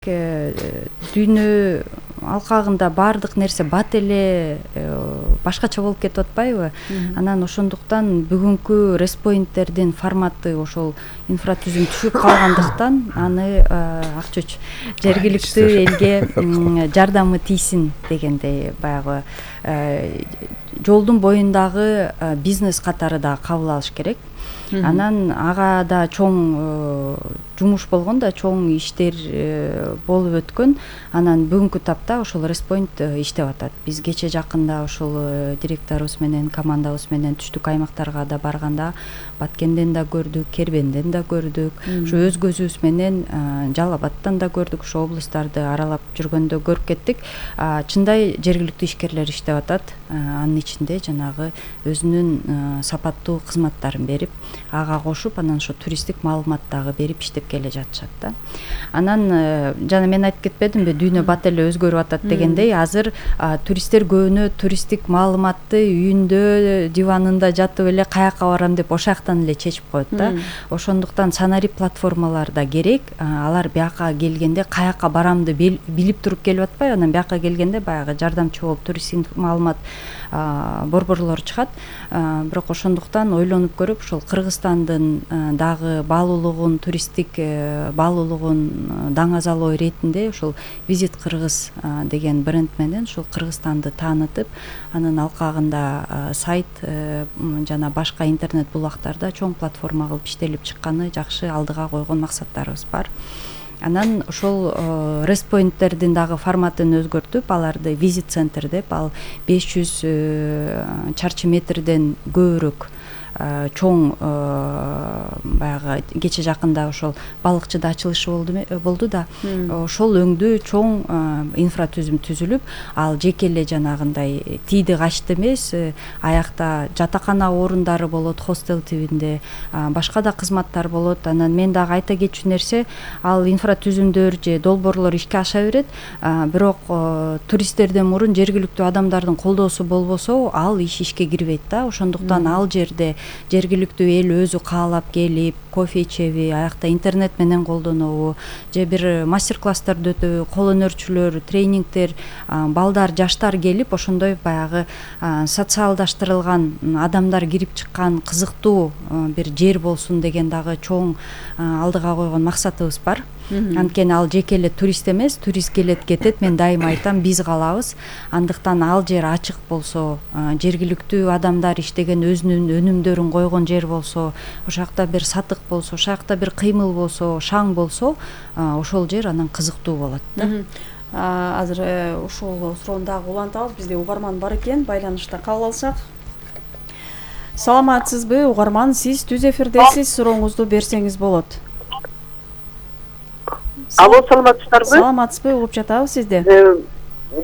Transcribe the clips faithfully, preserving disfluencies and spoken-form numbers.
дүйнө алкагында баардык нерсе бат эле башкача болуп кетип атпайбы? Анан ошондуктан бүгүнкү респоинттердин форматы ошол инфратүзүм түшүп калгандыктан аны Акчоч жергиликтүү элге жардамы тийсин дегендей баягы жолдун боюндагы бизнес катары да кабыл алыш керек. Анан ага да чоң жумуш болгон да, чоң иштер болуп өткөн. Анан бүгүнкү тапта ошол респоинт иштеп атат. Биз кече жакында ошол директорубуз менен, командабыз менен түштүк аймактарга да барганда Баткенден да көрдүк, Кербенден да көрдүк. Ошо өз көзүбүз менен Жалал Абадтан да көрдүк. Ошо облустарды аралап жүргөндө көрүп кеттик. Чындай жергиликтүү ишкерлер иштеп атат. Анын ичинде жанагы өзүнүн сапаттуу кызматтарын берип, ага кошуп, анан ошо туристтик маалымат дагы берип иштеп келе жатышат да. Анан жана мен айтып кетпедимби, дүйнө бат эле өзгөрүп атат дегендей, азыр туристтер көбүнө туристтик маалыматты үйүндө диванында жатып эле каяка барам деп ошол жактан эле чечип коет да. Ошондуктан санари платформалар да керек. Алар бияка келгенде каяка барамды билип туруп келип атпайбы, анан бияка келгенде баягы жардамчы болуп туристтик маалымат борборлор чыгат. Бирок ошондуктан ойлонуп көрүп, ошол Кыргызстандын дагы баалуулугун, туристтик баалуулугун даңазалоо иретинде ошол Visit Кыргыз деген бренд менен ошол Кыргызстанды таанытып, анын алкагында сайт жана башка интернет булактарда чоң платформа кылып иштелип чыкканы жакшы, алдыга койгон максаттарыбыз бар. Анан ошол респоинттердин дагы форматын өзгөртүп, аларды визит центр деп, ал беш жүз чарчы метрден көбүрөөк чоң баягы кече жакында ошол балыкчыда ачылышы болду болду да, ошол өңдүү чоң инфратүзүм түзүлүп, ал жеке эле жанагындай тийди качты эмес, аякта жатакана орундары болот, хостел тибинде башка да кызматтар болот. Анан мен дагы айта кетчү нерсе, ал инфратүзүмдөр же долбоорлор ишке аша берет, бирок туристтерден мурун жергиликтүү адамдардын колдоосу болбосо, ал иш ишке кирбейт да. Ошондуктан ал жерде жергиликтүү эл өзү каалап келип, кофе ичеби, аякта интернет менен колдонобу, же бир мастер-класстарды өтөбү, кол өнөрчүлөр, тренингдер, балдар, жаштар келип, ошондой баягы социалдаштырылган адамдар кирип чыккан кызыктуу бир жер болсун деген дагы чоң алдыга койгон максатыбыз бар. Анткени ал жеке эле турист эмес, турист келет кетет, мен дайыма айтам, биз калабыз. Андыктан ал жер ачык болсо, жергиликтүү адамдар иштеген өзүнүн өнүмдөрүн койгон жер болсо, ошол жакта бир сатык болсо, ошол жакта бир кыймыл болсо, шаң болсо, ошол жер анан кызыктуу болот да. Азыр ушул суроону дагы улантабыз, бизде угарман бар экен, байланышта кабыл алсак. Саламатсызбы, угарман, сиз түз эфирдесиз, сурооңузду берсеңиз болот. Алло, саламатсыздарбы? Саламатсызбы, угуп жатабыз сизди.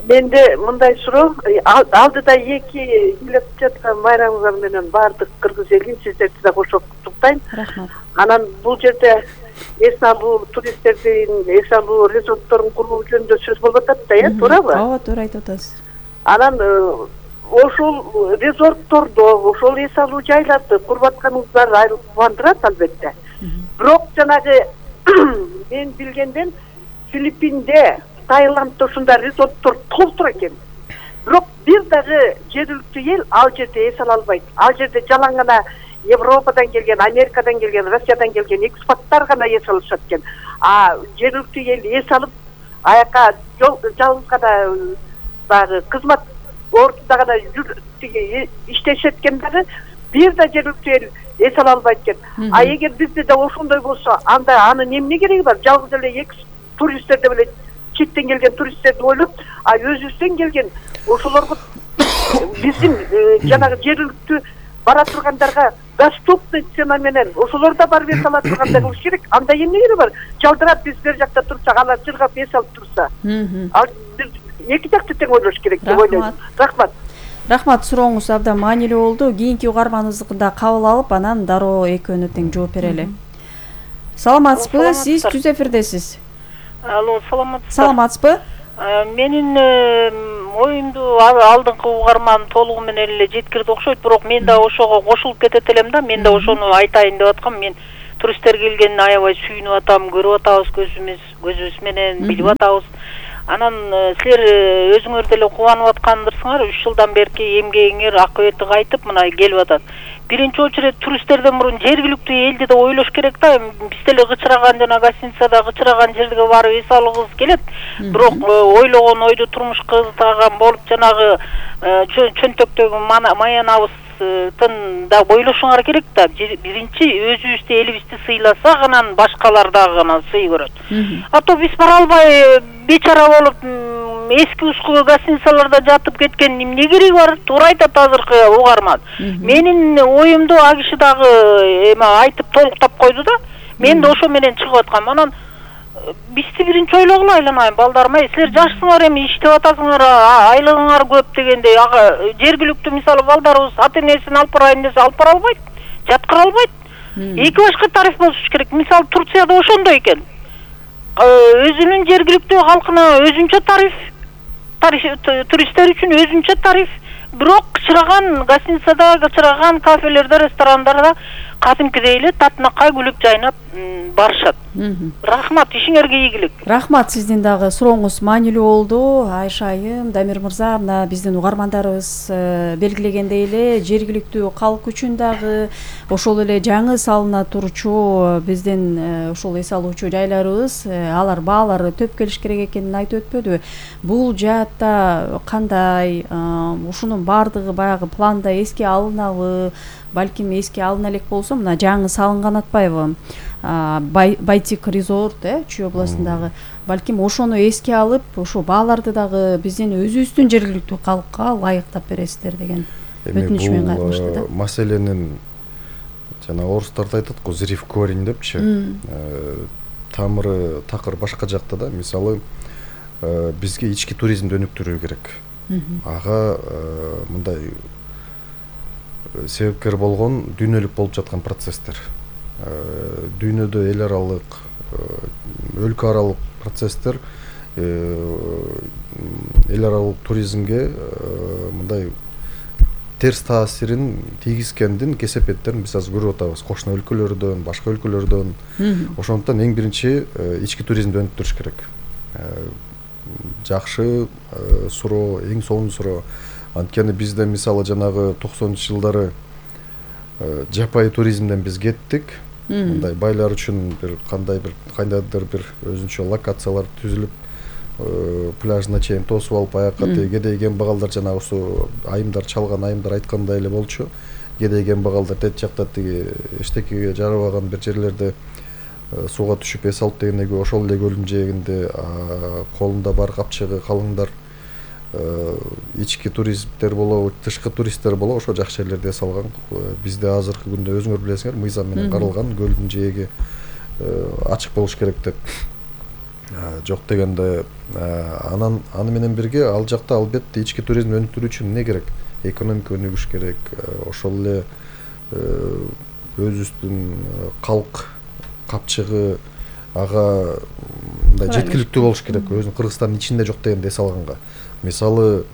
Менде мындай суроо, алдыда эки келип жаткан майрамыңар менен баардык кыргыз элин сиздерди да кошо куттуктайм. Рахмат. Анан бул жерде эс алуу туристтердин эс алуу резортторун куруу жөнүндө сөз болуп атат да, э, туурабы? Ооба, туура айтып атасыз. Анан ошол резорттордо, ошол эс алуу жайларды куруп атканыңыздар айрылып кубандырат албетте. Бирок жанагы мен билгенден Филиппинде, Таиландда ушундай резорттор толтур экен. Бирок бир дагы жергиликтүү эл ал жерде эс ала албайт. Ал жерде жалаң гана Европадан келген, Америкадан келген, Россиядан келген экспаттар гана эс алышат экен. А жергиликтүү эл эс алып, аяка жалгыз гана баягы кызмат ордунда гана иштешет экен дагы, бир да жергиликтүү эл эс ала албайт экен. А эгер бизде да ошондой болсо, анда анын эмне кереги бар? Жалгыз эле экс туристтерди беле, четтен келген туристтерди ойлоп, а өзүбүздөн келген ошолорго биздин жанагы жергиликтүү бара тургандарга доступный цена менен ошолор да барып эс ала тургандай болуш керек. Анда эмне кереги бар? Жалдырап биз бер жакта турсак, алар жыргап эс алып турса. Ал эки жакты тең ойлош керек деп ойлойм. Рахмат. Рахмат, сурооңуз абдан маанилүү болду. Кийинки угарманыбызды да кабыл алып, анан дароо экөөнө тең жооп берели. Саламатсызбы, сиз түз эфирдесиз. Алло, саламатсызбы? Саламатсызбы? Менин оюмду алдыңкы угарман толугу менен эле жеткирди окшойт, бирок мен да ошого кошулуп кетет элем да, мен да ошону айтайын деп аткам. Мен туристтер келгенин аябай сүйүнүп атам, көрүп атабыз көзүбүз көзүбүз менен, билип атабыз. Анан силер өзүңөр деле кубанып аткандырсыңар, үч жылдан берки эмгегиңер акыбети кайтып мына келип атат. Биринчи очередь туристтерден мурун жергиликтүү элди да ойлош керек да. Биз деле кычыраган жана гостиницада кычыраган жерге барып эс алгыбыз келет. Бирок ойлогон ойду турмушка кызытаган болуп жанагы чөнтөктөгү маянабыздын да ойлошуңар керек да. Биринчи өзүбүздү, элибизди сыйласак, анан башкалар дагы гана сый көрөт. А то биз бара албай бечара болуп эски ускуу гостиницаларда жатып кеткен эмне кереги бар? Туура айтат азыркы угарман. Менин оюмду а киши дагы эме айтып толуктап койду да. Мен да ошо менен чыгып аткам. Анан бизди биринчи ойлогула, айланайын балдарым, ай силер жашсыңар, эми иштеп атасыңар, айлыгыңар көп дегендей, ага жергиликтүү мисалы балдарыбыз ата-энесин алып барайын десе алып бара албайт, жаткыра албайт. Эки башка тариф болуш керек. Мисалы Турцияда ошондой экен. Өзүнүн жергиликтүү калкына өзүнчө тариф, туристтер үчүн өзүнчө тариф. Бирок кычыраган гостиницада, кычыраган кафелерде, ресторандарда кадимкидей эле татынакай күлүп жайнап барышат. Рахмат, ишиңерге ийгилик. Рахмат, сиздин дагы сурооңуз маанилүү болду. Айша айым, Дамир мырза, мына биздин угармандарыбыз белгилегендей эле жергиликтүү калк үчүн дагы ошол эле жаңы салына турчу биздин ошол эс алуучу жайларыбыз, алар баалары төп келиш керек экенин айтып өтпөдүбү? Бул жаатта кандай, ушунун баардыгы баягы планда эске алынабы, балким эске алына элек болсо, мына жаңы салынган атпайбы? Байтик резорт, э, Чүй областындагы, балким ошону эске алып, ошо бааларды дагы биздин өзүбүздүн жергиликтүү калкка ылайыктап бересиздер деген өтүнүч менен кайтмышты да. Маселенин жана орустарда айтат го, зрив корень депчи. Тамыры такыр башка жакта да. Мисалы, бизге ички туризмди өнүктүрүү керек. Ага мындай себепкер болгон дүйнөлүк болуп жаткан процесстер. Дүйнөдө эл аралык, өлкө аралык процесстер эл аралык туризмге мындай терс таасирин тийгизгендин кесепеттерин биз азыр көрүп атабыз. Кошуна өлкөлөрдөн, башка өлкөлөрдөн. Ошондуктан эң биринчи ички туризмди өнүктүрүш керек. Жакшы суроо, эң сонун суроо. Анткени бизде мисалы жанагы токсонунчу жылдары жапайы туризмден биз кеттик. Мындай байлар үчүн бир кандай бир кандайдыр бир өзүнчө локациялар түзүлүп, пляжына чейин тосуп алып, аякка кедей кембагалдар жанагы ошо айымдар чалган айымдар айткандай эле болчу. Кедей кембагалдар тет жакта тиги эчтекеге жарабаган бир жерлерде сууга түшүп эс алып дегенде ошол эле көлдүн жээгинде колунда бар капчыгы калыңдар, ички туристтер болобу, тышкы туристтер болобу, ошо жакшы жерлерде эс алган. Бизде азыркы күндө өзүңөр билесиңер, мыйзам менен каралган көлдүн жээги ачык болуш керек деп. Жок дегенде, анан аны менен бирге ал жакта албетте ички туризмди өнүктүрүү үчүн эмне керек? Экономика өнүгүш керек, ошол эле өзүбүздүн калк капчыгы ага мындай жеткиликтүү болуш керек. Өзүнүн Кыргызстандын ичинде жок дегенде эс алганга. Мисалы,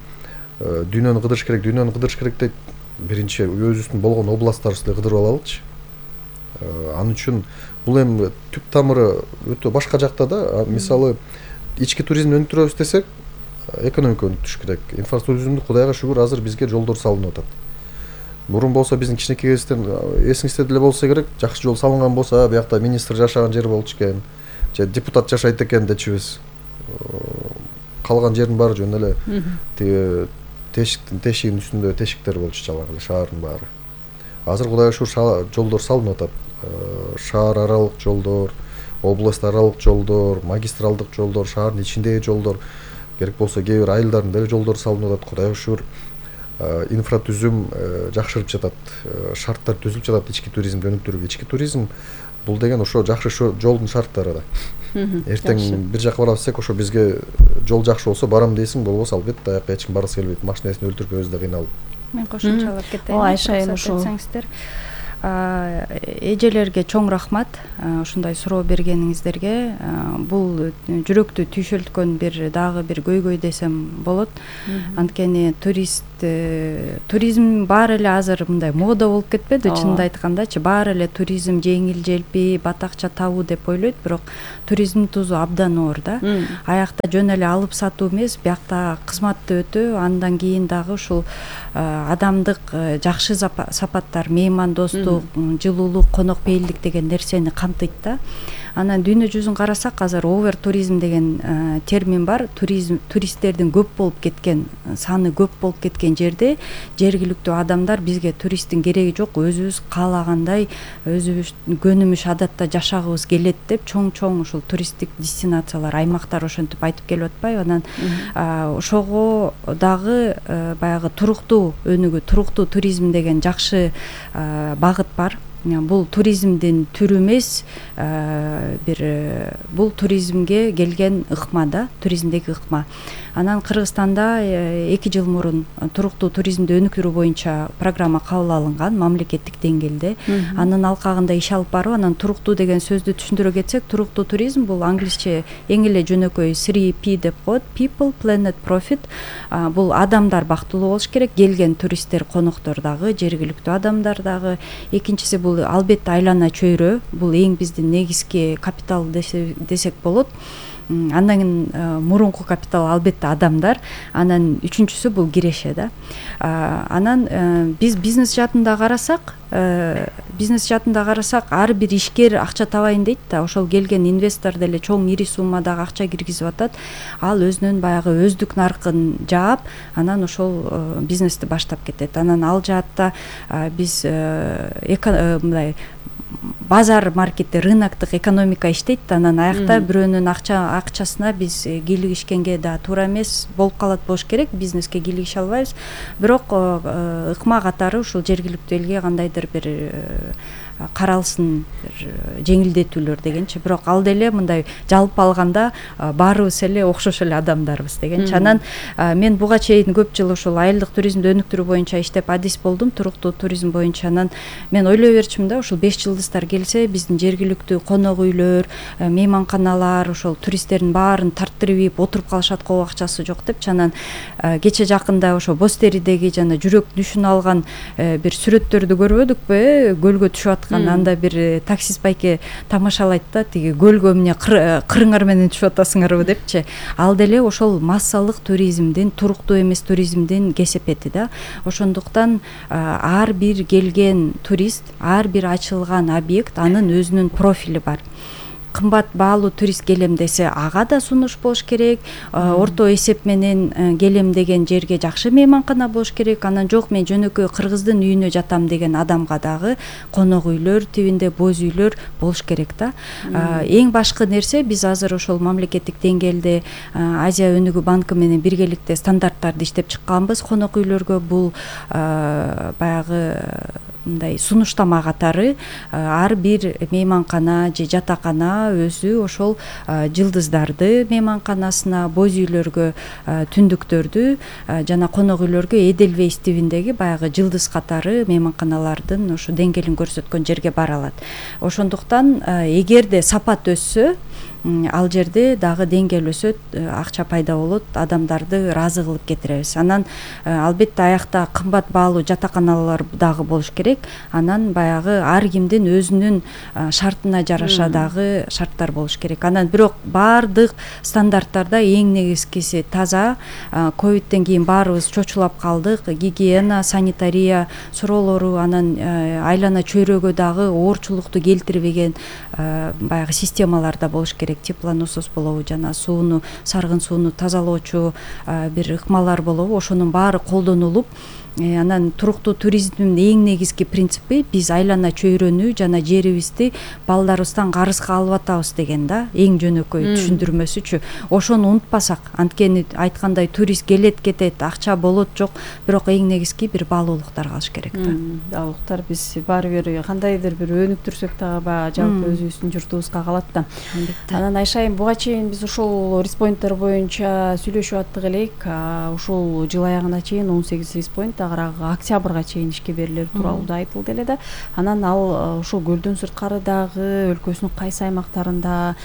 дүйнөнү кыдырыш керек, дүйнөнү кыдырыш керек дейт. Биринчи өзүбүздүн болгон областтарыбызды кыдырып алалычы. Ал үчүн бул эми түп тамыры өтө башка жакта да. Мисалы, ички туризмди өнүктүрөбүз десек, экономика өнүктүрүш керек. Инфраструктураны Кудайга шүгүр азыр бизге жолдор салынып атат. Мурун болсо биздин кичинекей кезден эсиңизде деле болсо керек, жакшы жол салынган болсо, биякта министр жашаган жер болчу экен, же депутат жашайт экен дечүбүз. Калган жердин баары жөн эле тиги тешиктин тешигинин үстүндө тешиктер болчу жалаң эле шаардын баары. Азыр Кудайга шүгүр жолдор салынып атат. Шаар аралык жолдор, област аралык жолдор, магистралдык жолдор, шаардын ичиндеги жолдор, керек болсо кээ бир айылдардын деле жолдору салынып атат. Кудайга шүгүр инфратүзүм жакшырып жатат, шарттар түзүлүп жатат ички туризмди өнүктүрүүгө. Ички туризм бул деген ошо жакшы жолдун шарттары да. Эртең бир жака бара берсек, ошо бизге жол жакшы болсо барам дейсиң, болбосо албетте аякка эч ким баргысы келбейт. Машинесин өлтүрүп өзү да кыйналып. Мен кошумчалап кетейин. Айша айым ошо эжелерге чоң рахмат ушундай суроо бергениңиздерге. Бул жүрөктү түйшөлткөн бир дагы бир көйгөй десем болот. Анткени турист туризм баары эле азыр мындай мода болуп кетпеди, чынын айткандачы. Баары эле туризм жеңил желпи, бат акча табуу деп ойлойт, бирок туризмдин тузу абдан оор да. Аякта жөн эле алып сатуу эмес, биякта кызматтуу өтүү, андан кийин дагы ушул адамдык жакшы сапаттар, меймандостук, жылуулук, конокпейилдик деген нерсени камтыйт да. Анан дүйнө жүзүн карасак, азыр овер туризм деген термин бар. Туризм туристтердин көп болуп кеткен, саны көп болуп кеткен жерде жергиликтүү адамдар бизге туристтин кереги жок, өзүбүз каалагандай, өзүбүз көнүмүш адатта жашагыбыз келет деп чоң-чоң ушул туристтик дестинациялар, аймактар ошентип айтып келип атпайбы. Анан ошого дагы баягы туруктуу өнүгүү, туруктуу туризм деген жакшы багыт бар. Бул туризмдин түрү эмес, бир бул туризмге келген ыкма да, туризмдеги ыкма. Анан Кыргызстанда эки жыл мурун туруктуу туризмди өнүктүрүү боюнча программа кабыл алынган мамлекеттик деңгээлде. Анын алкагында иш алып барып, анан туруктуу деген сөздү түшүндүрө кетсек, туруктуу туризм бул англисче эң эле жөнөкөй три P деп коет: people, planet, profit. Бул адамдар бактылуу болуш керек, келген туристтер, коноктор дагы, жергиликтүү адамдар дагы. Экинчиси бул албетте айлана чөйрө, бул эң биздин негизги капитал десек болот. Андан кийин мурунку капитал албетте адамдар. Анан үчүнчүсү бул киреше да. Анан биз бизнес жаатында карасак, бизнес жаатында карасак, ар бир ишкер акча табайын дейт да, ошол келген инвестор деле чоң ири суммадагы акча киргизип атат. Ал өзүнүн баягы өздүк наркын жаап, анан ошол бизнести баштап кетет. Анан ал жаатта биз мындай базар маркетте, рыноктук экономика иштейт да. Анан аякта бирөөнүн акча акчасына биз кийлигишкенге да туура эмес болуп калат болуш керек. Бизнеске кийлигише албайбыз. Бирок ыкма катары ушул жергиликтүү элге кандайдыр бир каралсын, жеңилдетүүлөр дегенчи. Бирок ал деле мындай жалпы алганда баарыбыз эле окшош эле адамдарбыз дегенчи. Анан мен буга чейин көп жыл ушул айылдык туризмди өнүктүрүү боюнча иштеп адис болдум, туруктуу туризм боюнча. Анан мен ойлой берчүмүн да, ушул беш жылдыздар келсе, биздин жергиликтүү конок үйлөр, мейманканалар ошол туристтердин баарын тарттырып ийип отуруп калышат, кол акчасы жок депчи. Анан кече жакында ошо Бостеридеги жана жүрөк дүшүн алган бир сүрөттөрдү көрбөдүкпү? Көлгө түшүп аткан, анда бир таксист байке тамашалайт да, тиги көлгө эмне кырыңар менен түшүп атасыңарбы депчи. Ал деле ошол массалык туризмдин, туруктуу эмес туризмдин кесепети да. Ошондуктан ар бир келген турист, ар бир ачылган объект анын өзүнүн профили бар. Кымбат баалуу турист келем десе, ага да сунуш болуш керек. Орто эсеп менен келем деген жерге жакшы мейманкана болуш керек. Анан жок, мен жөнөкөй кыргыздын үйүнө жатам деген адамга дагы конок үйлөр, тибинде боз үйлөр болуш керек да. Эң башкы нерсе, биз азыр ошол мамлекеттик деңгээлде Азия өнүгүү банкы менен биргеликте стандарттарды иштеп чыкканбыз конок үйлөргө. Бул баягы мындай сунуштама катары ар бир мейманкана же жатакана өзү ошол жылдыздарды мейманканасына, боз үйлөргө, түндүктөрдү жана конок үйлөргө Эдельвейс тибиндеги баягы жылдыз катары мейманканалардын ошо деңгээлин көрсөткөн жерге бара алат. Ошондуктан эгерде сапат өссө, ал жерде дагы деңгээл өсөт, акча пайда болот, адамдарды ыраазы кылып кетиребиз. Анан албетте аякта кымбат баалуу жатаканалар дагы болуш керек. Анан баягы ар кимдин өзүнүн шартына жараша дагы шарттар болуш керек. Анан бирок баардык стандарттарда эң негизгиси таза. Ковидтен кийин баарыбыз чочулап калдык. Гигиена, санитария суроолору, анан айлана чөйрөгө дагы оорчулукту келтирбеген баягы системалар да болуш керек. Теплоносос болобу жана сууну, саргын сууну тазалоочу бир ыкмалар болобу, ошонун баары колдонулуп, анан туруктуу туризмдин эң негизги принципи биз айлана чөйрөнү жана жерибизди балдарыбыздан карызга алып атабыз деген да, эң жөнөкөй түшүндүрмөсүчү. Ошону унутпасак, анткени айткандай турист келет кетет, акча болот жок, бирок эң негизги бир баалуулуктар калыш керек да. Баалуулуктар биз баары бир кандайдыр бир өнүктүрсөк дагы баягы жалпы өзүбүздүн журтубузга калат да. Анан Айша айым, буга чейин биз ушул респоинттер боюнча сүйлөшүп аттык элек. Ушул жыл аягына чейин он сегиз респоинт агыраагы октябрга чейин ишке берилери тууралуу да айтылды эле да. Анан ал ушул көлдөн сырткары дагы өлкөсүнүн кайсы аймактарында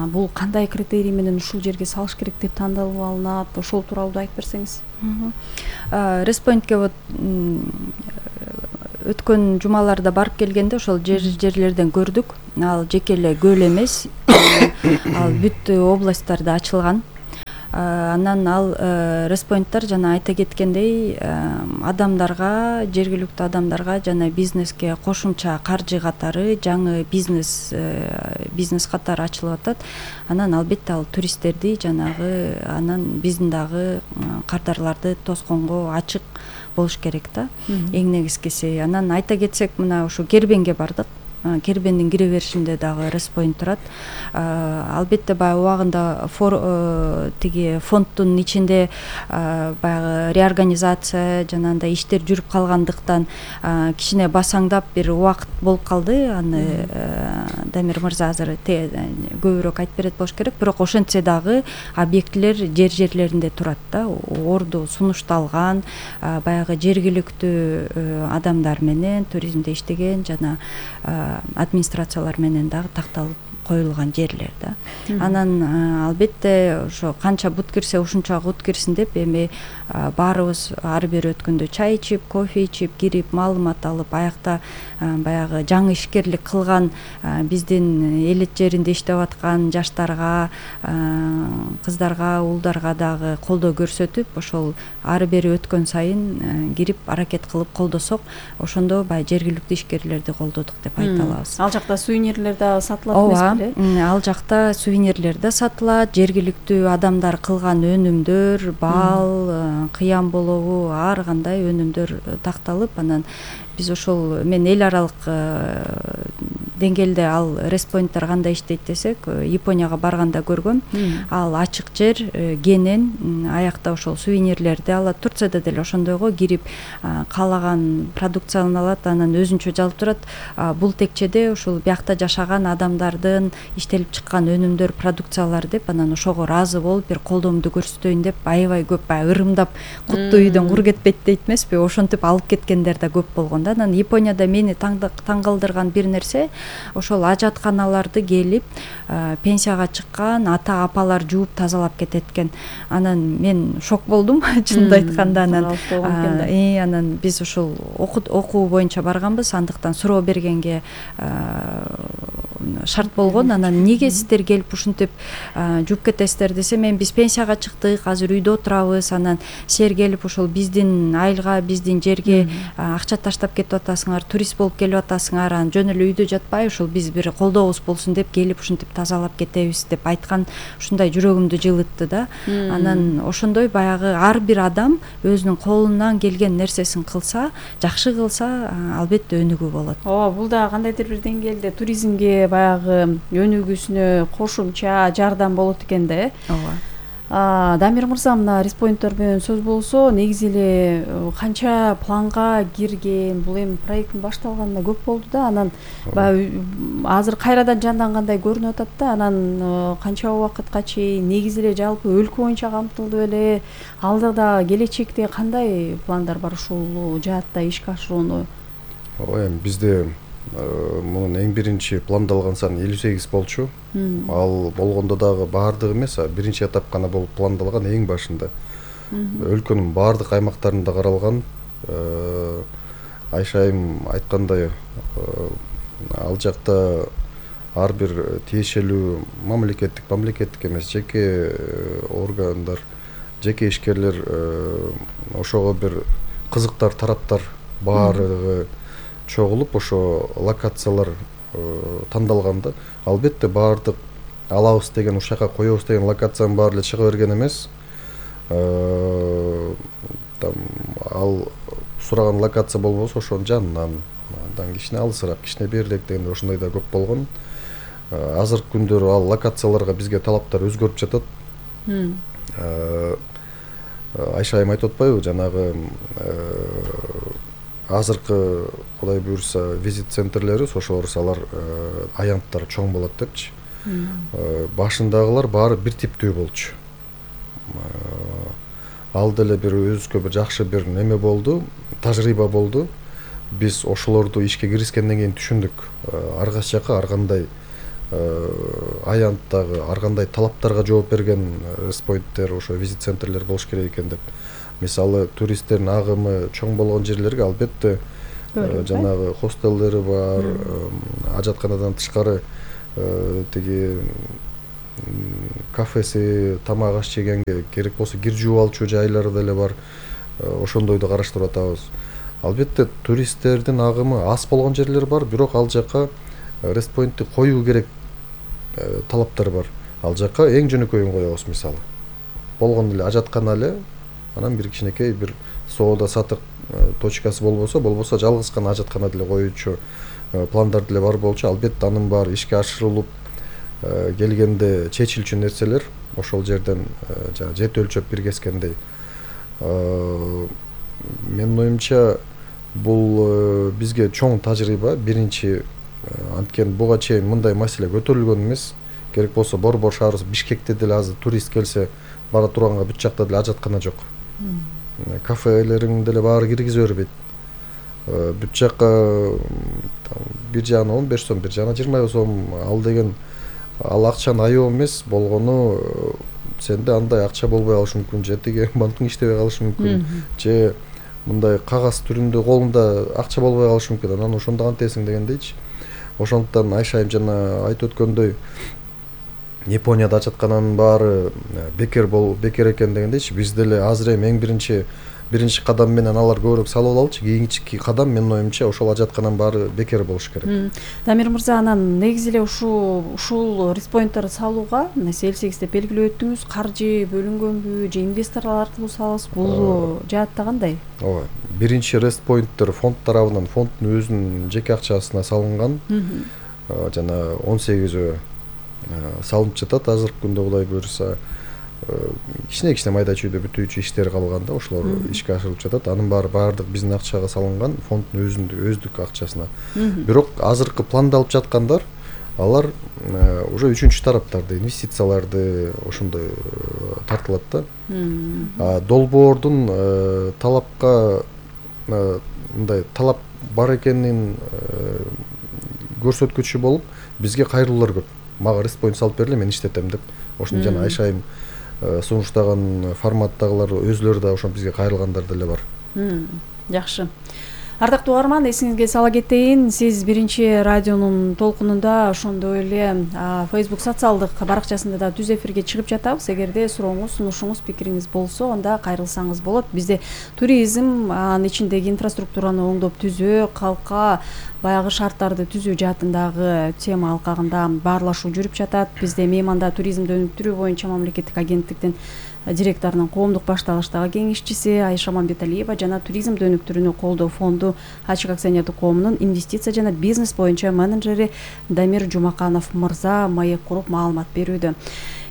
бул кандай критерий менен ушул жерге салыш керек деп тандалып алынат, ошол тууралуу да айтып берсеңиз. Респоинтке вот өткөн жумаларда барып келгенде ошол жер жерлерден көрдүк. Ал жеке эле көл эмес, ал бүт областтарда ачылган. Анан ал респоинттар жана айта кеткендей адамдарга, жергиликтүү адамдарга жана бизнеске кошумча каржы катары, жаңы бизнес бизнес катары ачылып атат. Анан албетте ал туристтерди жанагы анан биздин дагы кардарларды тосконго ачык болуш керек да. Эң негизгиси. Анан айта кетсек, мына ушу Кербенге бардык. Кербендин кире беришинде дагы респоинт турат. Албетте баягы убагында тиги фонддун ичинде баягы реорганизация жанагындай иштер жүрүп калгандыктан кичине басаңдап бир убакыт болуп калды. Аны Дамир мырза азыр көбүрөөк айтып берет болуш керек. Бирок ошентсе дагы объектилер жер жерлеринде турат да. Орду сунушталган, баягы жергиликтүү адамдар менен туризмде иштеген жана администрациялар менен дагы такталып коюлган жерлер да. Анан албетте ошо канча бут кирсе ушунча кут кирсин деп эми баарыбыз ар бир өткөндө чай ичип, кофе ичип, кирип, маалымат алып, аякта баягы жаңы ишкерлик кылган биздин элет жеринде иштеп аткан жаштарга, кыздарга, уулдарга дагы колдоо көрсөтүп, ошол ары бери өткөн сайын кирип аракет кылып колдосок, ошондо баягы жергиликтүү ишкерлерди колдодук деп айта алабыз. Ал жакта сувенирлер да сатылат эмеспи? Ал жакта сувенирлер да сатылат, жергиликтүү адамдар кылган өнүмдөр, бал, кыям болобу, ар кандай өнүмдөр такталып, анан биз ошол мен эл аралык деңгээлде ал респоинттер кандай иштейт десек, Японияга барганда көргөм. Ал ачык жер, кенен, аякта ошол сувенирлерди алат. Турцияда деле ошондойго кирип каалаган продукцияны алат, анан өзүнчө жазылып турат. Бул текчеде ушул биякта жашаган адамдардын иштелип чыккан өнүмдөр, продукциялар деп, анан ошого ыраазы болуп бир колдоомду көрсөтөйүн деп аябай көп баягы ырымдап куттуу үйдөн кур кетпейт дейт эмеспи, ошентип алып кеткендер да көп болгон. Анан Японияда мени таң калтырган бир нерсе, ошол ажатканаларды келип пенсияга чыккан ата апалар жууп тазалап кетет экен. Анан мен шок болдум чынын айтканда. Анан анан биз ошол окуу боюнча барганбыз, андыктан суроо бергенге шарт болгон. Анан эмнеге сиздер келип ушинтип жууп кетесиздер десе, мен биз пенсияга чыктык, азыр үйдө отурабыз, анан силер келип ошол биздин айылга, биздин жерге акча таштап кетип атасыңар, турист болуп келип атасыңар, анан жөн эле үйдө жатпай ошол биз бир колдообуз болсун деп келип ушинтип тазалап кетебиз деп айткан, ушундай жүрөгүмдү жылытты да. Анан ошондой баягы ар бир адам өзүнүн колунан келген нерсесин кылса, жакшы кылса, албетте өнүгүү болот. Ооба, бул да кандайдыр бир деңгээлде туризмге баягы өнүгүүсүнө кошумча жардам болот экен да, э? Ооба. Дамир мырза, мына респоинттер менен сөз болсо, негизи эле канча планга кирген, бул эми проекттин башталганына көп болду да, анан баягы азыр кайрадан жандангандай көрүнүп атат да, анан канча убакытка чейин, негизи эле жалпы өлкө боюнча камтылды беле, алдыда келечекте кандай пландар бар ушул жаатта ишке ашырууну? Ооба, эми бизде мунун эң биринчи пландалган саны элүү сегиз болчу. Ал болгондо дагы баардыгы эмес, биринчи этап гана болуп пландалган эң башында. Өлкөнүн баардык аймактарында каралган. Айша айым айткандай, ал жакта ар бир тиешелүү мамлекеттик, мамлекеттик эмес, жеке органдар, жеке ишкерлер ошого бир кызыктар, тараптар баардыгы чогулуп ошо локациялар тандалганда, албетте баардык алабыз деген, ушака коебуз деген локациянын баары эле чыга берген эмес. Ал сураган локация болбосо ошонун жанынан, андан кичине алысыраак, кичине берирээк дегенде ошондой да көп болгон. Азыркы күндөрү ал локацияларга бизге талаптар өзгөрүп жатат. Айша айым айтып атпайбы, жанагы азыркы Кудай буюрса визит центрлери, ошолор алар аянттар чоң болот депчи. Башындагылар баары бир типтүү болчу. Ал деле бир өзүбүзгө бир жакшы бир неме болду, тажрыйба болду. Биз ошолорду ишке киришкенден кийин түшүндүк, ар кайсы жака ар кандай аянттагы, ар кандай талаптарга жооп берген респоинттер, ошо визит центрлер болуш керек экен деп. Мисалы, туристтердин агымы чоң болгон жерлерге албетте жанагы хостелдери бар, ажатканадан тышкары тиги кафеси, тамак аш жегенге керек болсо кир жууп алчу жайлары деле бар. Ошондойду караштырып атабыз. Албетте туристтердин агымы аз болгон жерлер бар, бирок ал жака респоинтти коюу керек талаптар бар. Ал жака эң жөнөкөйүн коебуз, мисалы. Болгон эле ажаткана эле, анан бир кичинекей бир соода сатык точкасы болбосо, болбосо жалгыз гана ажаткана деле коюучу пландар деле бар болчу. Албетте анын баары ишке ашырылып келгенде чечилчү нерселер ошол жерден жана жет өлчөп бир кескендей. Менин оюмча бул бизге чоң тажрыйба. Биринчи, анткени буга чейин мындай маселе көтөрүлгөн эмес. Керек болсо Борбор шаарыбыз Бишкекте деле азыр турист келсе бара турганга бүт жакта деле ажаткана жок. Кафелерин деле баары киргизе бербейт. Бүт жакка бир жагына он беш сом, бир жагына жыйырма сом ал деген ал акчанын аябы эмес. Болгону сенде андай акча болбой калышы мүмкүн, же тиги банктың иштебей калышы мүмкүн, же мындай кагаз түрүндө колунда акча болбой калышы мүмкүн. Анан ошондо кантесиң дегендейчи. Ошондуктан Айшайым жана айтып өткөндөй Японияда ажаткананын баары бекер бол бекер экен дегендейчи. Биз деле азыр эми эң биринчи биринчи кадам менен алар көбүрөөк салып алалычы. Кийинки кадам менин оюмча ошол ажаткананын баары бекер болуш керек. Дамир мырза, анан негизи эле ушул ушул респоинттерди салууга элсегиз деп белгилеп өттүңүз. Каржы бөлүнгөнбү же инвесторлор аркылуу салабыз? Бул жаатта кандай? Ооба. Биринчи респоинттер фонд тарабынан, фонддун өзүнүн жеке акчасына салынган. Жана он сегизөө салынып жатат азыркы күндө, Кудай буйруса. Кичине-кичине майда чүйдө бүтүүчү иштер калганда ошолор ишке ашырылып жатат. Анын баары баардык биздин акчага салынган, фонддун өзүндүк өздүк акчасына. Бирок азыркы пландалып жаткандар алар уже үчүнчү тараптарды, инвестицияларды ошондой тартылат да. Долбоордун талапка мындай талап бар экенин көрсөткүчү болуп бизге кайрылуулар көп. Мага респоинт салып бергиле, мен иштетем деп. Ошону жана Айшайым сунуштаган форматтагылар өзүлөрү да ошо бизге кайрылгандар деле бар. Жакшы. Ардактуу угарман, эсиңизге сала кетейин, сиз биринчи радионун толкунунда, ошондой эле Facebook социалдык баракчасында да түз эфирге чыгып жатабыз. Эгерде сурооңуз, сунушуңуз, пикириңиз болсо, анда кайрылсаңыз болот. Бизде туризм, анын ичиндеги инфраструктураны оңдоп түзүү, калкка баягы шарттарды түзүү жаатындагы тема алкагында баарлашуу жүрүп жатат. Бизде мейманда туризмди өнүктүрүү боюнча мамлекеттик агенттиктин директорунун коомдук башталыштагы кеңешчиси Айша Мамбеталиева жана туризмди өнүктүрүүнү колдоо фонду ачык акционердик коомунун инвестиция жана бизнес боюнча менеджери Дамир Жумаканов мырза маек куруп маалымат берүүдө.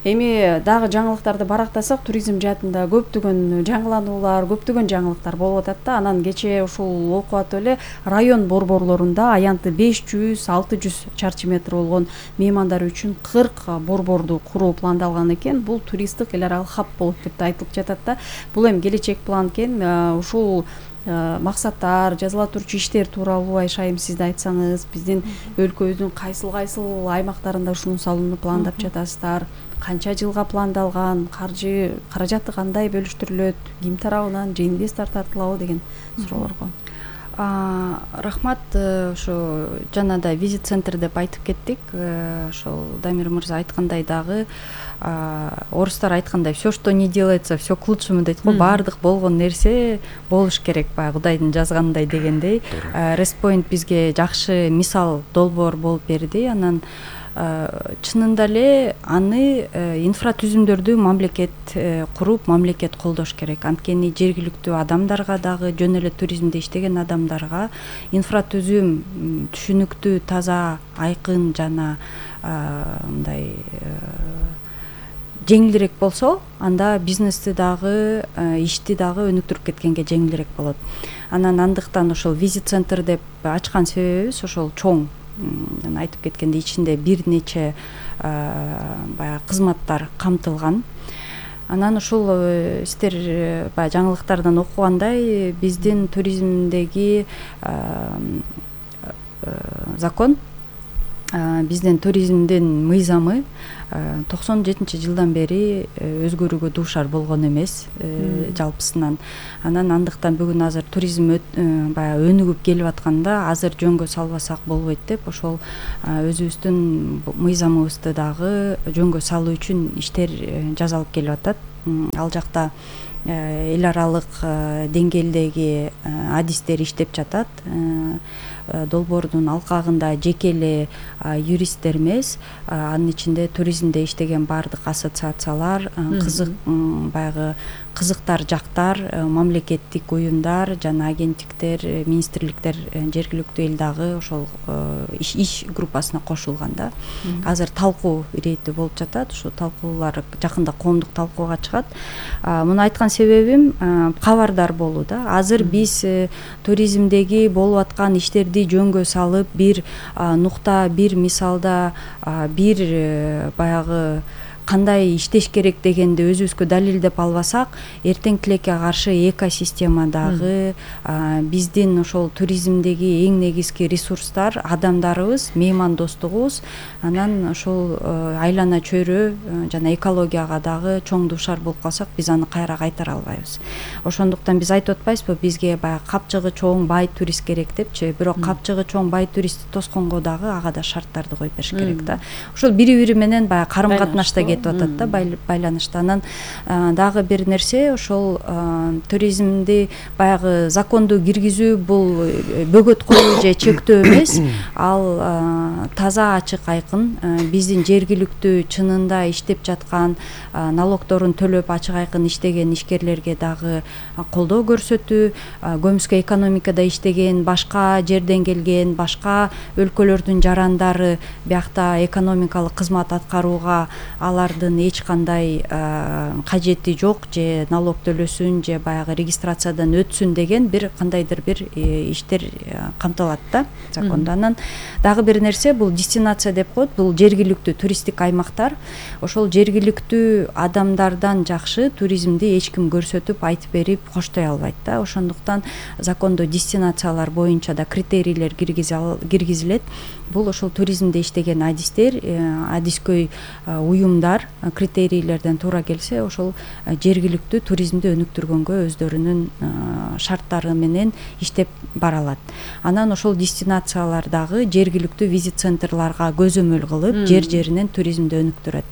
Эми дагы жаңылыктарды барактасак, туризм жаатында көптөгөн жаңылануулар, көптөгөн жаңылыктар болуп атат да. Анан кечээ ушул окуп атып эле район борборлорунда аянты беш жүз алты жүз чарчы метр болгон меймандар үчүн кырк борборду куруу пландалган экен. Бул туристтик эл аралык хаб болот деп да айтылып жатат да. Бул эми келечек план экен. Ушул максаттар, жазыла турчу иштер тууралуу Айшайым сиз да айтсаңыз, биздин өлкөбүздүн кайсыл кайсыл аймактарында ушуну салууну пландап жатасыздар? Канча жылга пландалган, каржы каражаты кандай бөлүштүрүлөт, ким тарабынан, же инвестор тартылабы деген суроолорго. Рахмат, ошо жанада визит центр деп айтып кеттик. Ошол Дамир мырза айткандай дагы орустар айткандай, все, что не делается, все к лучшему дейт го. Баардык болгон нерсе болуш керек, баягы Кудайдын жазгандай дегендей. Респоинт бизге жакшы мисал, долбоор болуп берди. Анан чынында эле аны инфратүзүмдөрдү мамлекет куруп, мамлекет колдош керек. Анткени жергиликтүү адамдарга дагы, жөн эле туризмде иштеген адамдарга инфратүзүм түшүнүктүү, таза, айкын жана мындай жеңилирээк болсо, анда бизнести дагы, ишти дагы өнүктүрүп кеткенге жеңилирээк болот. Анан андыктан ошол визит центр деп ачкан себебибиз ошол чоң жана айтып кеткендей ичинде бир нече баягы кызматтар камтылган. Анан ушул сиздер баягы жаңылыктардан окугандай биздин туризмдеги закон, биздин туризмдин мыйзамы токсон жетинчи жылдан бери өзгөрүүгө дуушар болгон эмес жалпысынан. Анан андыктан бүгүн азыр туризм баягы өнүгүп келип атканда азыр жөнгө салбасак болбойт деп ошол өзүбүздүн мыйзамыбызды дагы жөнгө салуу үчүн иштер жасалып келип атат. Ал жакта эл аралык деңгээлдеги адистер иштеп жатат. Долбоордун алкагында жеке эле юристтер эмес, анын ичинде туризмде иштеген баардык ассоциациялар, кызык баягы кызыктар жактар, мамлекеттик уюмдар жана агенттиктер, министрликтер, жергиликтүү эл дагы ошол иш группасына кошулган да. Азыр талкуу иретти болуп жатат. Ушул талкуулар жакында коомдук талкууга чыгат. Муну айткан себебим кабардар болуу да. Азыр биз туризмдеги болуп аткан иштерди жөнгө салып, бир нукта, бир мисалда, бир баягы кандай иштеш керек дегенди өзүбүзгө далилдеп албасак, эртең тилекке каршы экосистемадагы биздин ошол туризмдеги эң негизги ресурстар адамдарыбыз, меймандостугубуз, анан ошол айлана чөйрө жана экологияга дагы чоң дуушар болуп калсак, биз аны кайра кайтара албайбыз. Ошондуктан биз айтып атпайбызбы, бизге баягы капчыгы чоң бай турист керек депчи, бирок капчыгы чоң бай туристти тосконго дагы ага да шарттарды коюп бериш керек да. Ошол бири-бири менен баягы карым-катнашта кетип атат да, байланышта. Анан дагы бир нерсе, ошол туризмди баягы законду киргизүү бул бөгөт коюу же чектөө эмес, ал таза ачык айкын биздин жергиликтүү чынында иштеп жаткан, налогдорун төлөп ачык айкын иштеген ишкерлерге дагы колдоо көрсөтүү, көмүскө экономикада иштеген, башка жерден келген, башка өлкөлөрдүн жарандары биякта экономикалык кызмат аткарууга алардын эч кандай кажети жок, же налог төлөсүн, же баягы регистрациядан өтсүн деген бир кандайдыр бир иштер камтылат да закондо. Анан дагы бир нерсе, бул дестинация деп коет, бул жергиликтүү туристтик аймактар. Ошол жергиликтүү адамдардан жакшы туризмди эч ким көрсөтүп, айтып берип коштой албайт да. Ошондуктан закондо дестинациялар боюнча да критерийлер киргизилет. Бул ошол туризмде иштеген адистер, адискөй уюмдар критерийлерден туура келсе, ошол жергиликтүү туризмди өнүктүргөнгө өздөрүнүн шарттары менен иштеп бара алат. Анан ошол дестинациялардагы жергиликтүү визит центрларга көзөмөл кылып, жер-жеринен туризмди өнүктүрөт.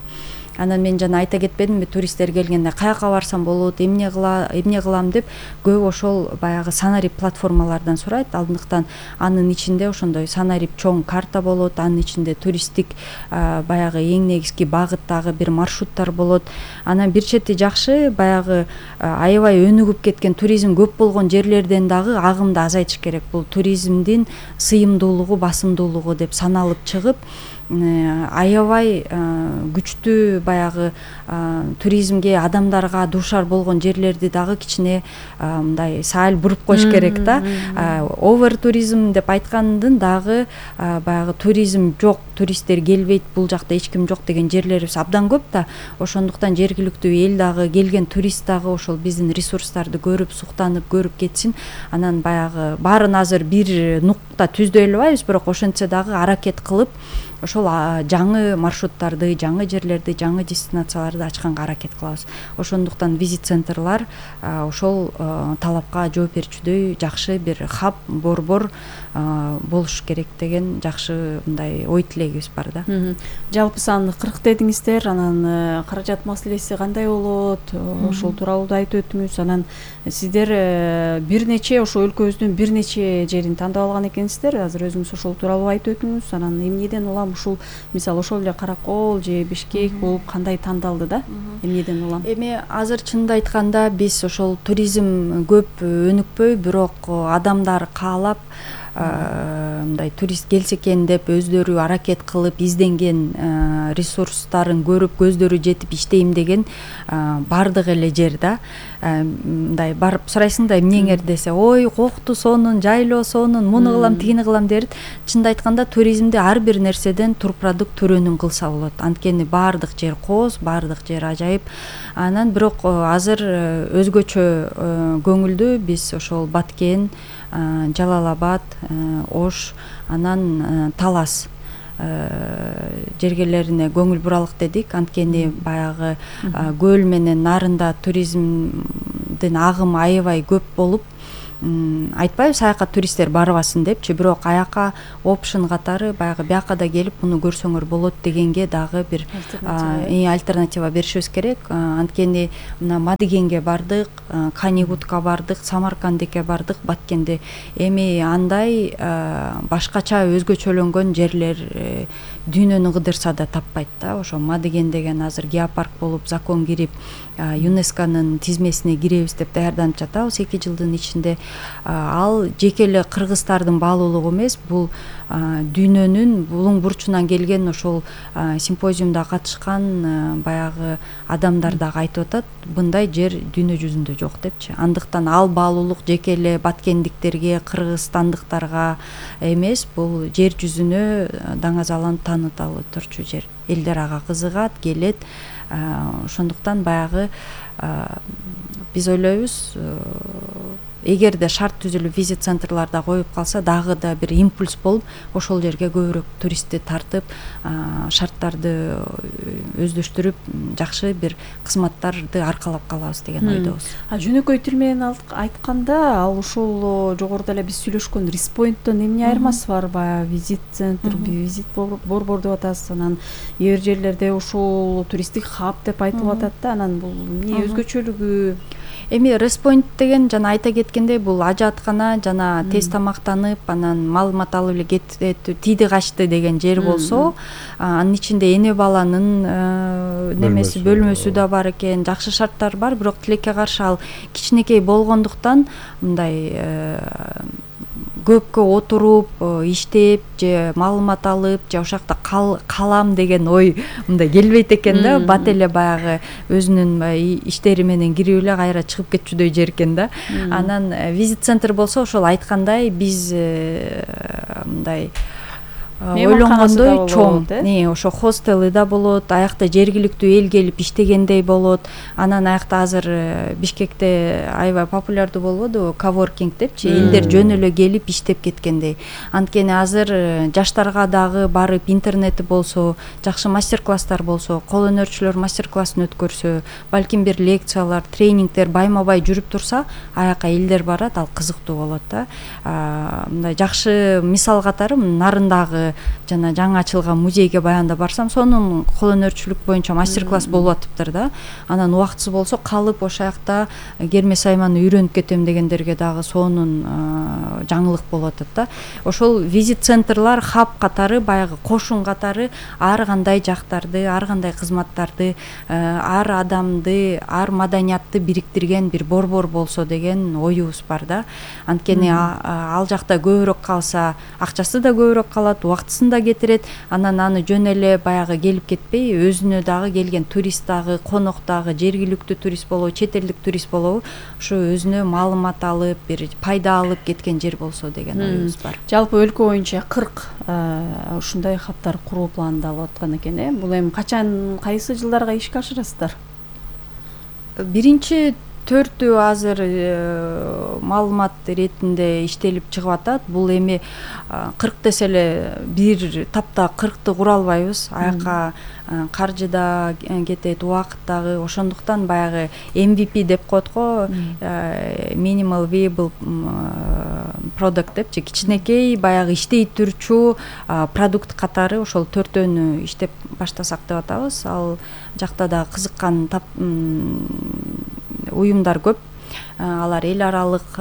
Анан мен жана айта кетпедимби, туристтер келгенде каяка барсам болот, эмне кыла, эмне кылам деп көп ошол баягы санарип платформалардан сурайт. Алдыктан анын ичинде ошондой санарип чоң карта болот, анын ичинде туристтик баягы эң негизги багыттагы бир маршруттар болот. Анан бир чети жакшы баягы аябай өнүгүп кеткен туризм көп болгон жерлерден дагы агымды азайтыш керек. Бул туризмдин сыйымдуулугу, басымдуулугу деп саналып чыгып, аябай күчтүү баягы туризмге, адамдарга дуушар болгон жерлерди дагы кичине мындай саал буруп коюш керек да. Овер туризм деп айткандын дагы баягы туризм жок, туристтер келбейт, бул жакта эч ким жок деген жерлерибиз абдан көп да. Ошондуктан жергиликтүү эл дагы, келген турист дагы ошол биздин ресурстарды көрүп, суктанып, көрүп кетсин. Анан баягы баарын азыр бир нукта түздөй албайбыз, бирок ошентсе дагы аракет кылып ошол жаңы маршруттарды, жаңы жерлерди, жаңы дестинацияларды ачканга аракет кылабыз. Ошондуктан визит центрлар ошол талапка жооп берүүчүдөй жакшы бир хаб, борбор болуш керек деген жакшы мындай ой тилегибиз бар да. Жалпы сан кырк дедиңиздер, анан каражат маселеси кандай болот? Ошол тууралуу да айтып өттүңүз. Анан сиздер бир нече ошо өлкөбүздүн бир нече жерин тандап алган экенсиздер. Азыр өзүңүз ошол тууралуу айтып өттүңүз. Анан эмнеден улам ушул мисалы ошол эле Каракол же Бишкек болуп кандай тандалды да? Эмнеден улам? Эми азыр чынында айтканда биз ошол туризм көп өнүкпөй, бирок адамдар каалап мындай турист келсе экен деп өздөрү аракет кылып изденген ресурстарын көрүп көздөрү жетип иштейм деген бардык эле жер да. Мындай барып сурайсың да эмнеңер десе, ой кокту сонун, жайлоо сонун, муну кылам, тигини кылам дерт. Чынды айтканда туризмде ар бир нерседен турпродукт төрөнүн кылса болот. Анткени бардык жер кооз, бардык жер ажайып. Анан бирок азыр өзгөчө көңүлдүү биз ошол Баткен, Жалал Абад, Ош, анан Талас жергелерине көңүл буралык дедик. Анткени баягы көл менен нарында туризмдин агымы аябай көп болуп, айтпайбыз аякка туристтер барбасын депчи, бирок аякка опшн катары баягы бияка да келип муну көрсөңөр болот дегенге дагы бир альтернатива беришибиз керек. Анткени мына Мадыгенге бардык, Канигутка бардык, Самаркандке бардык, Баткенде. Эми андай башкача өзгөчөлөнгөн жерлер дүйнөнү кыдырса да таппайт да. Ошо Мадыген деген азыр геопарк болуп, закон кирип, ЮНЕСКОнун тизмесине киребиз деп даярданып жатабыз эки жылдын ичинде. Ал жеке эле кыргыздардын баалуулугу эмес, бул дүйнөнүн булуң бурчунан келген ошол симпозиумда катышкан баягы адамдар дагы айтып атат, мындай жер дүйнө жүзүндө жок депчи. Андыктан ал баалуулук жеке эле баткендиктерге, кыргызстандыктарга эмес, бул жер жүзүнө даңазаланып таанытылып турчу жер. Элдер ага кызыгат, келет. Ошондуктан баягы биз ойлойбуз, эгерде шарт түзүлүп визит центрларда коюп калса дагы да бир импульс болуп, ошол жерге көбүрөөк туристти тартып, шарттарды өздөштүрүп, жакшы бир кызматтарды аркалап калабыз деген ойдобуз. А жөнөкөй тил менен айтканда, ал ушул жогоруда эле биз сүйлөшкөн респоинттон эмне айырмасы бар? Баягы визит центр, визит борбор деп атасыз, анан кээ бир жерлерде ушул туристтик хаб деп айтылып атат да, анан бул эмне өзгөчөлүгү? Эми респоинт деген жана айта кеткендей, бул ажаткана жана тез тамактанып, анан маалымат алып эле кетип тийди качты деген жер болсо, анын ичинде эне баланын немеси бөлмөсү да бар экен, жакшы шарттар бар, бирок тилекке каршы ал кичинекей болгондуктан мындай көпкө отуруп, иштеп же маалымат алып же ошол жакта калам деген ой мындай келбейт экен да. Бат эле баягы өзүнүн иштери менен кирип эле кайра чыгып кетчүдөй жер экен да. Анан визит центр болсо ошол айткандай биз мындай ойлонгондой чоң, ошо хостелы да болот, аякта жергиликтүү эл келип иштегендей болот. Анан аякта азыр Бишкекте аябай популярдуу болбодубу коворкинг депчи, элдер жөн эле келип иштеп кеткендей. Анткени азыр жаштарга дагы барып интернети болсо, жакшы мастер-класстар болсо, кол өнөрчүлөр мастер-классын өткөрсө, балким бир лекциялар, тренингдер байма-бай жүрүп турса, аякка элдер барат, ал кызыктуу болот да. Мындай жакшы мисал катары нарындагы жана жаңы ачылган музейге баягында барсам, сонун кол өнөрчүлүк боюнча мастер-класс болуп атыптыр да. Анан убактысы болсо калып ошол жакта керме сайманы үйрөнүп кетем дегендерге дагы сонун жаңылык болуп атат да. Ошол визит центрлар хаб катары, баягы кошун катары ар кандай жактарды, ар кандай кызматтарды, ар адамды, ар маданиятты бириктирген бир борбор болсо деген оюбуз бар да. Анткени ал жакта көбүрөөк калса, акчасы да көбүрөөк калат, убактысын да кетирет. Анан аны жөн эле баягы келип кетпей, өзүнө дагы келген турист дагы, конок дагы, жергиликтүү турист болобу, чет элдик турист болобу, ошо өзүнө маалымат алып, бир пайда алып кеткен жер болсо деген оюбуз бар. Жалпы өлкө боюнча кырк ушундай хабтар куруу пландалып аткан экен, э? Бул эми качан, кайсы жылдарга ишке ашырасыздар? Биринчи төртү азыр маалымат иретинде иштелип чыгып атат. Бул эми кырк десе эле бир тапта кыркты кура албайбыз. Аякка каржы да кетет, убакыт дагы. Ошондуктан баягы эм ви пи деп коет го, minimal viable product депчи, кичинекей баягы иштей турчу продукт катары ошол төртөөнү иштеп баштасак деп атабыз. Ал жакта да кызыккан уюмдар көп. Алар эл аралык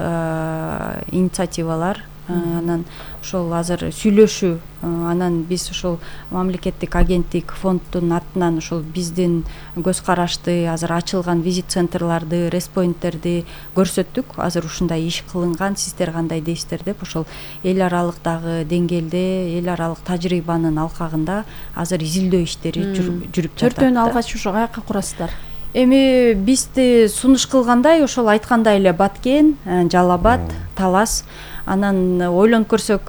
инициативалар анан ошол азыр сүйлөшүү, анан биз ошол мамлекеттик агенттик фонддун атынан ошол биздин көз карашты азыр ачылган визит центрларды, респоинттерди көрсөттүк. Азыр ушундай иш кылынган, сиздер кандай дейсиздер деп ошол эл аралыктагы деңгээлде, эл аралык тажрыйбанын алкагында азыр изилдөө иштери жүрүп жатат. Төртөөнү алгач ошо каяка курасыздар? Эми бизди сунуш кылгандай ошол айткандай эле Баткен, Жалал Абад, Талас. Анан ойлонуп көрсөк,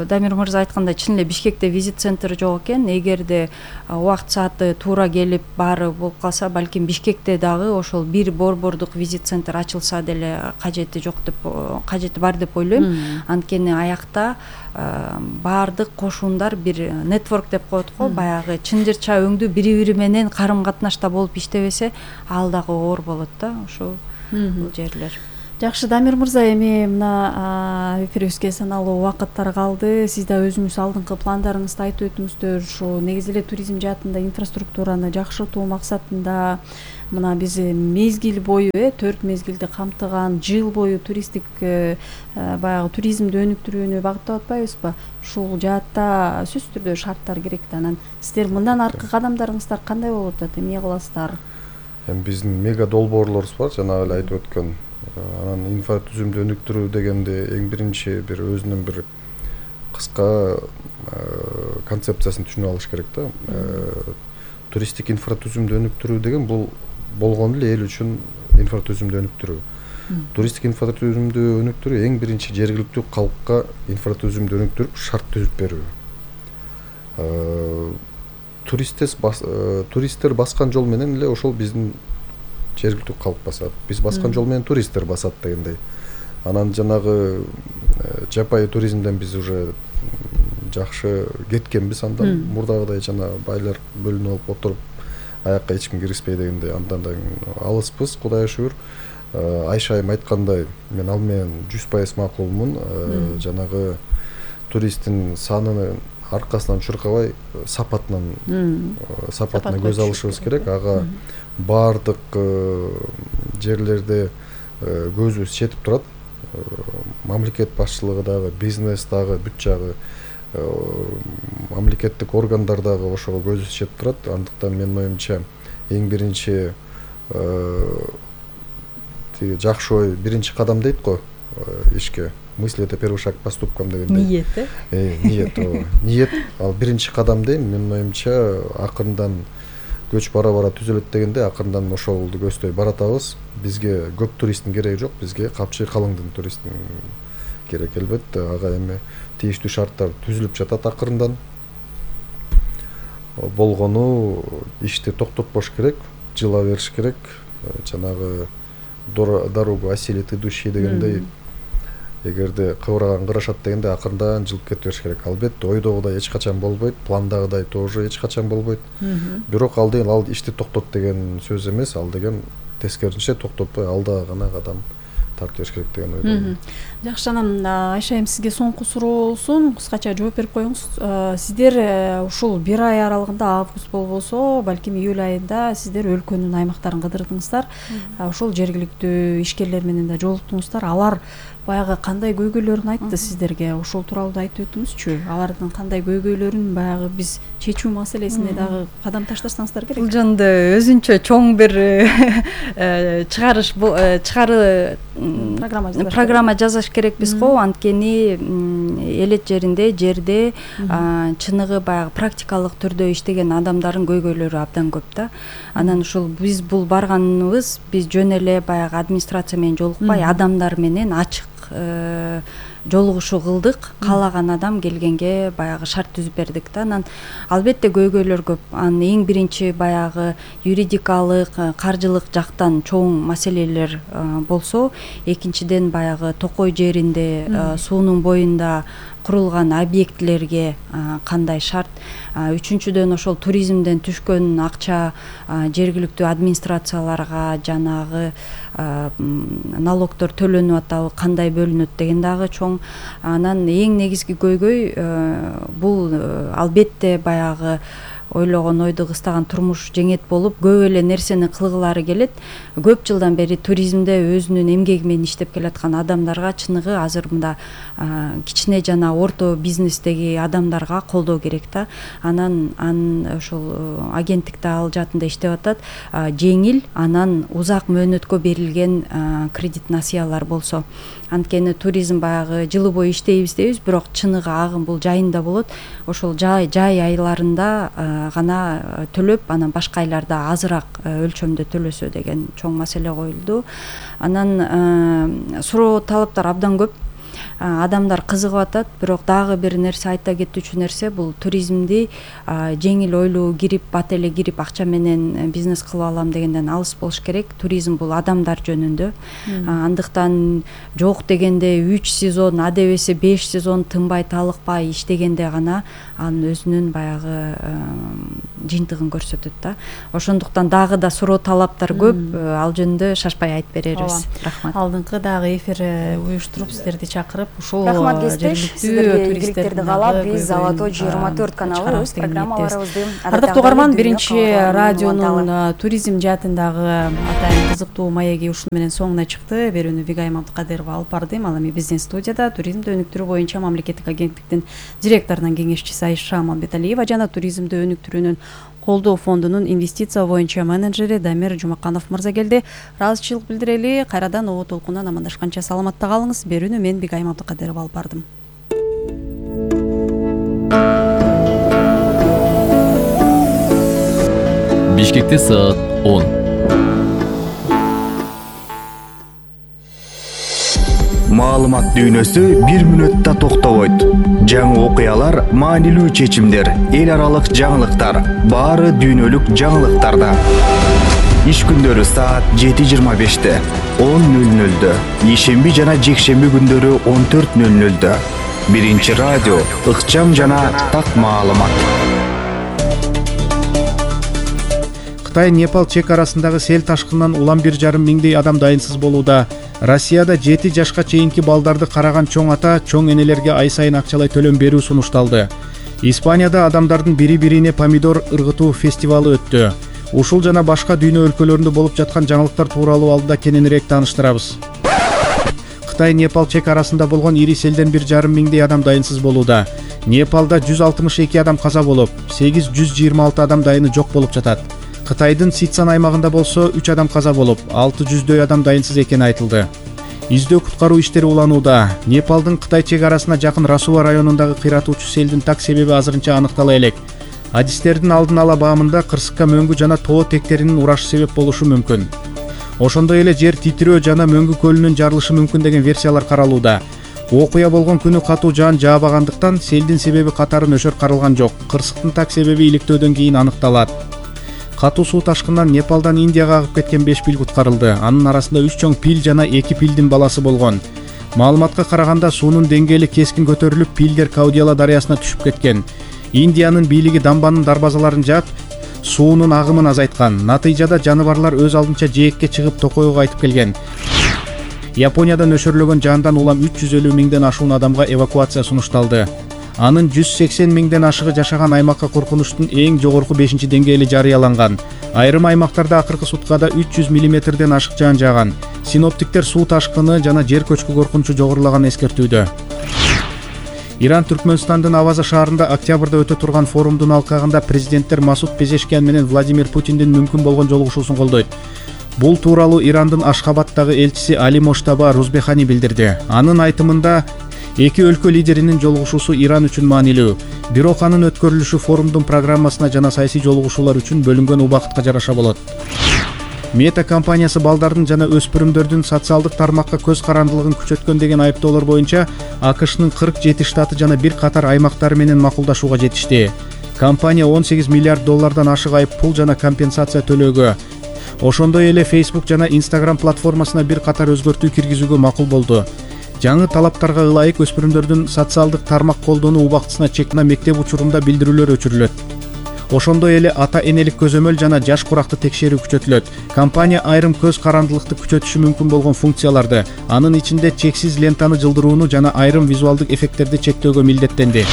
Дамир мырза айткандай чын эле Бишкекте визит центр жок экен. Эгерде убакыт сааты туура келип баары болуп калса, балким Бишкекте дагы ошол бир борбордук визит центр ачылса деле кажети жок деп, кажети бар деп ойлойм. Анткени аякта баардык кошундар бир нетворк деп коет го, баягы чынжырча өңдүү бири-бири менен карым-катнашта болуп иштебесе, ал дагы оор болот да, ошол бул жерлер. Жакшы, Дамир мырза, эми мына эфирибизге саналуу убакыттар калды. Сиз да өзүңүз алдыңкы пландарыңызды айтып өтүңүздөр. Ушу негизи эле туризм жаатында инфраструктураны жакшыртуу максатында мына биз мезгил бою, э төрт мезгилди камтыган, жыл бою туристтик баягы туризмди өнүктүрүүнү багыттап атпайбызбы? Ушул жаатта сөзсүз түрдө шарттар керек да. Анан сиздер мындан аркы кадамдарыңыздар кандай болуп атат? Эмне кыласыздар? Эми биздин мега долбоорлорубуз бар, жана эле айтып өткөн. Анан инфратүзүмдү өнүктүрүү дегенде эң биринчи бир өзүнүн бир кыска концепциясын түшүнүп алыш керек да. Туристтик инфратүзүмдү өнүктүрүү деген бул болгону эле эл үчүн инфратүзүмдү өнүктүрүү. Туристтик инфратүзүмдү өнүктүрүү эң биринчи жергиликтүү калкка инфратүзүмдү өнүктүрүп шарт түзүп берүү. Туристтер баскан жол менен эле ошол биздин жергиликтүү калк басат. Биз баскан жол менен туристтер басат дегендей. Анан жанагы жапайы туризмден биз уже жакшы кеткенбиз, андан мурдагыдай жана байлар бөлүнүп алып отуруп аякка эч ким киришпей дегендей андан да алыспыз, Кудайга шүгүр. Айша айым айткандай, мен ал менен жүз пайыз макулмун. Жанагы туристтин санынын аркасынан чуркабай, сапатынан сапатына көз алышыбыз керек. Ага баардык жерлерде көзүбүз жетип турат. Мамлекет башчылыгы дагы, бизнес дагы, бүт жагы мамлекеттик органдар дагы ошого көзүбүз жетип турат. Андыктан менин оюмча эң биринчи тиги жакшы ой биринчи кадам дейт го ишке. Мысли — это первый шаг к поступкам дегендей. Ниет, э? Ниет, ниет ал биринчи кадам дейм. Менин оюмча акырындан көч бара-бара түзөлөт дегенде акырындан ошолду көздөй баратабыз. Бизге көп туристтин кереги жок, бизге капчы калыңдын туристтин керек. Элбетте ага эми тийиштүү шарттар түзүлүп жатат акырындан. Болгону ишти токтотпош керек, жыла бериш керек. Жанагы дорогу осилит идущий дегендей, эгерде кыбыраган кырашат дегенде акырындан жылып кете бериш керек. Албетте ойдогудай эч качан болбойт, пландагыдай тоже эч качан болбойт. Бирок ал деген ал ишти токтот деген сөз эмес, ал деген тескерисинче токтотпой алда гана кадам тартып бериш керек деген ойдомун. Жакшы, анан Айша айым сизге соңку суроо болсун, кыскача жооп берип коюңуз. Сиздер ушул бир ай аралыгында, август болбосо, балким июль айында сиздер өлкөнүн аймактарын кыдырдыңыздар. Ошол жергиликтүү ишкерлер менен да жолуктуңуздар. Алар баягы кандай көйгөйлөрүн айтты сиздерге? Ошол тууралуу да айтып өтүңүзчү. Алардын кандай көйгөйлөрүн баягы биз чечүү маселесине дагы кадам таштасаңыздар керек. Бул жөнүндө өзүнчө чоң бир чыгарыш чыгары программа жазыш керекпиз го. Анткени элет жеринде, жерде чыныгы баягы практикалык түрдө иштеген адамдардын көйгөйлөрү абдан көп да. Анан ушул биз бул барганыбыз, биз жөн эле баягы администрация менен жолукпай, адамдар менен ачык жолугушуу кылдык. Каалаган адам келгенге баягы шарт түзүп бердик да. Анан албетте көйгөйлөр көп. Анын эң биринчи баягы юридикалык, каржылык жактан чоң маселелер болсо, экинчиден баягы токой жеринде, суунун боюнда курулган объектилерге кандай шарт, үчүнчүдөн ошол туризмден түшкөн акча жергиликтүү администрацияларга жанагы налогдор төлөнүп атабы, кандай бөлүнөт деген дагы чоң. Анан эң негизги көйгөй бул албетте баягы ойлогон ойду кыстаган турмуш жеңет болуп көп эле нерсени кылгылары келет. Көп жылдан бери туризмде өзүнүн эмгеги менен иштеп келаткан адамдарга чыныгы азыр мында кичине жана орто бизнестеги адамдарга колдоо керек да. Анан анын ошол агенттикте ал жаатында иштеп атат. Жеңил анан узак мөөнөткө берилген кредит насыялар болсо. Анткени туризм баягы жылы бою иштейбиз дейбиз, бирок чыныгы агым бул жайында болот. Ошол жай жай айларында гана төлөп, анан башка айларда азыраак өлчөмдө төлөсө деген чоң маселе коюлду. Анан суроо талаптар абдан көп. Адамдар кызыгып атат, бирок дагы бир нерсе айта кетүүчү нерсе бул туризмди жеңил ойлуу кирип, бат эле кирип акча менен бизнес кылып алам дегенден алыс болуш керек. Туризм бул адамдар жөнүндө. Андыктан жок дегенде үч сезон, адебесе беш сезон тынбай талыкпай иштегенде гана анын өзүнүн баягы жыйынтыгын көрсөтөт да. Ошондуктан дагы да суроо талаптар көп. Ал жөнүндө шашпай айтып берербиз. Рахмат. Алдыңкы дагы эфир уюштуруп сиздерди чакырып ушул рахмат кесиптеш, сиздерге ийгиликтерди каалап, биз Алатоо жыйырма төрт каналы өз программаларыбызды ардактуу угарман, биринчи радионун туризм жаатындагы атайын кызыктуу маеги ушуну менен соңуна чыкты. Берүүнү Вигайым Абдыкадырова алып бардым. Ал эми биздин студияда туризмди өнүктүрүү боюнча мамлекеттик агенттиктин директорунун кеңешчиси Айша Мамбеталиева жана туризмди өнүктүрүүнүн колдоо фондунун инвестиция боюнча менеджери Дамир Жумаканов мырза келди. Ыраазычылык билдирели. Кайрадан О толкундан амандашканча саламатта калыңыз. Берүүнү мен Бигайым Абдыкадырова алып бардым. Бишкекте саат он. Маалымат дүйнөсү бир мүнөттө токтобойт. Жаңы окуялар, маанилүү чечимдер, эл аралык жаңылыктар, баары дүйнөлүк жаңылыктарда. Иш күндөрү саат жети жыйырма беште, он нөл нөлдө, ишемби жана жекшемби күндөрү он төрт нөл нөлдө. Биринчи радио, ыкчам жана так маалымат. Кытай Непал чек арасындагы сел ташкынынан улам бир жарым миңдей адам дайынсыз болууда. Россияда жети жашка чейинки балдарды караган чоң ата, чоң энелерге ай сайын акчалай төлөм берүү сунушталды. Испанияда адамдардын бири-бирине помидор ыргытуу фестивалы өттү. Ушул жана башка дүйнө өлкөлөрүндө болуп жаткан жаңылыктар тууралуу алдыда кененирээк тааныштырабыз. Кытай Непал чек арасында болгон ири селден бир жарым миңдей адам дайынсыз болууда. Непалда жүз алтымыш эки адам каза болуп, сегиз жүз жыйырма алты адам дайыны жок болуп жатат. Кытайдын Сицан аймагында болсо үч адам каза болуп, алты жүздөй адам дайынсыз экени айтылды. Издөө куткаруу иштери уланууда. Непалдын Кытай чек арасына жакын Расуа районундагы кыйратуучу селдин так себеби азырынча аныктала элек. Адистердин алдын ала баамында кырсыкка мөңгү жана тоо тектеринин урашы себеп болушу мүмкүн. Ошондой эле жер титирөө жана мөңгү көлүнүн жарылышы мүмкүн деген версиялар каралууда. Окуя болгон күнү катуу жаан жаабагандыктан селдин себеби катары нөшөр каралган жок. Кырсыктын так себеби иликтөөдөн кийин аныкталат. Катуу суу ташкынынан Непалдан Индияга агып кеткен беш пил куткарылды. Анын арасында үч чоң пил жана эки пилдин баласы болгон. Маалыматка караганда суунун деңгээли кескин көтөрүлүп, пилдер Каудиала дарыясына түшүп кеткен. Индиянын бийлиги дамбанын дарбазаларын жаап, суунун агымын азайткан. Натыйжада жаныбарлар өз алдынча жээкке чыгып токойго кайтып келген. Японияда нөшөрлөгөн жаандан улам үч жүз элүү миңден ашуун адамга эвакуация сунушталды. Анын жүз сексен миңден ашыгы жашаган аймакка коркунучтун эң жогорку бешинчи деңгээли жарыяланган. Айрым аймактарда акыркы суткада үч жүз миллиметрден ашык жаан жааган. Синоптиктер суу ташкыны жана жер көчкү коркунучу жогорулаган эскертүүдө. Иран Түркмөнстандын Аваза шаарында октябрда өтө турган форумдун алкагында президенттер Масуд Пезешкиан менен Владимир Путиндин мүмкүн болгон жолугушуусун колдойт. Бул тууралуу Ирандын Ашхабадтагы элчиси Али Моштаба Рузбехани билдирди. Анын айтымында эки өлкө лидеринин жолугушуусу Иран үчүн маанилүү. Бирок анын өткөрүлүшү форумдун программасына жана саясий жолугушуулар үчүн бөлүнгөн убакытка жараша болот. Мета компаниясы балдардын жана өспүрүмдөрдүн социалдык тармакка көз карандылыгын күчөткөн деген айыптоолор боюнча АКШнын кырк жети штаты жана бир катар аймактары менен макулдашууга жетишти. Компания он сегиз миллиард доллардан ашык айып пул жана компенсация төлөөгө, ошондой эле Facebook жана Instagram платформасына бир катар өзгөртүү киргизүүгө макул болду. Жаңы талаптарга ылайык өспүрүмдөрдүн социалдык тармак колдонуу убактысына чек на мектеп учурунда билдирүүлөр өчүрүлөт. Ошондой эле ата энелик көзөмөл жана жаш куракты текшерүү күчөтүлөт. Компания айрым көз карандылыкты күчөтүшү мүмкүн болгон функцияларды, анын ичинде чексиз лентаны жылдырууну жана айрым визуалдык эффекттерди чектөөгө милдеттенди.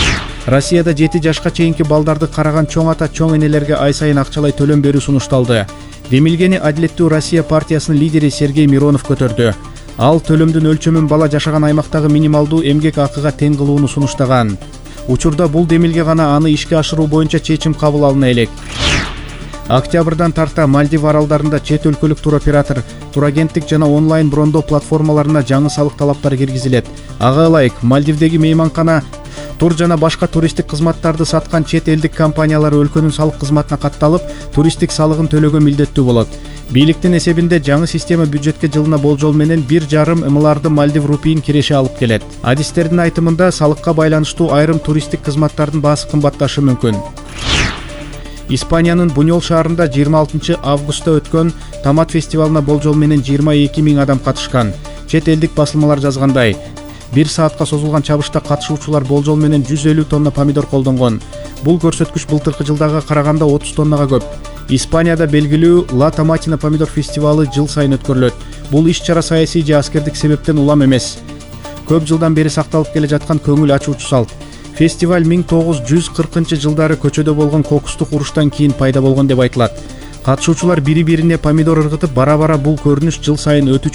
Россияда жети жашка чейинки балдарды караган чоң ата чоң энелерге ай сайын акчалай төлөм берүү сунушталды. Демилгени Адилеттүү Россия партиясынын лидери Сергей Миронов көтөрдү. Ал төлөмдүн өлчөмүн бала жашаган аймактагы минималдуу эмгек акыга тең кылууну сунуштаган. Учурда бул демилге гана аны ишке ашыруу боюнча чечим кабыл алына элек. Октябрдан тарта Мальдив аралдарында чет өлкөлүк туроператор, турагенттик жана онлайн брондоо платформаларына жаңы салык талаптары киргизилет. Ага ылайык, Мальдивдеги мейманкана, тур жана башка туристтик кызматтарды саткан чет элдик компаниялар өлкөнүн салык кызматына катталып, туристтик салыгын төлөөгө милдеттүү болот. Бийликтин эсебинде жаңы система бюджетке жылына болжол менен бир жарым миллиарды Мальдив рупийин киреше алып келет. Адистердин айтымында салыкка байланыштуу айрым туристтик кызматтардын баасы кымбатташы мүмкүн. Испаниянын Буньол шаарында жыйырма алтынчы августта өткөн томат фестивалына болжол менен жыйырма эки миң адам катышкан. Чет элдик басылмалар жазгандай, бир саатка созулган чабышта катышуучулар болжол менен жүз элүү тонна помидор колдонгон. Бул көрсөткүч былтыркы жылдага караганда отуз тоннага көп. Испанияда белгилүү Ла Томатина помидор фестивалы жыл сайын өткөрүлөт. Бул иш-чара саясий же аскердик себептен улам эмес. Көп жылдан бери сакталып келе жаткан көңүл ачуучу салт. Фестиваль миң тогуз жүз кыркынчы жылдары көчөдө болгон кокустук уруштан кийин пайда болгон деп айтылат. Катышуучулар бири-бирине помидор ыргытып, бара-бара бул көрүнүш жыл сайын өтүүчү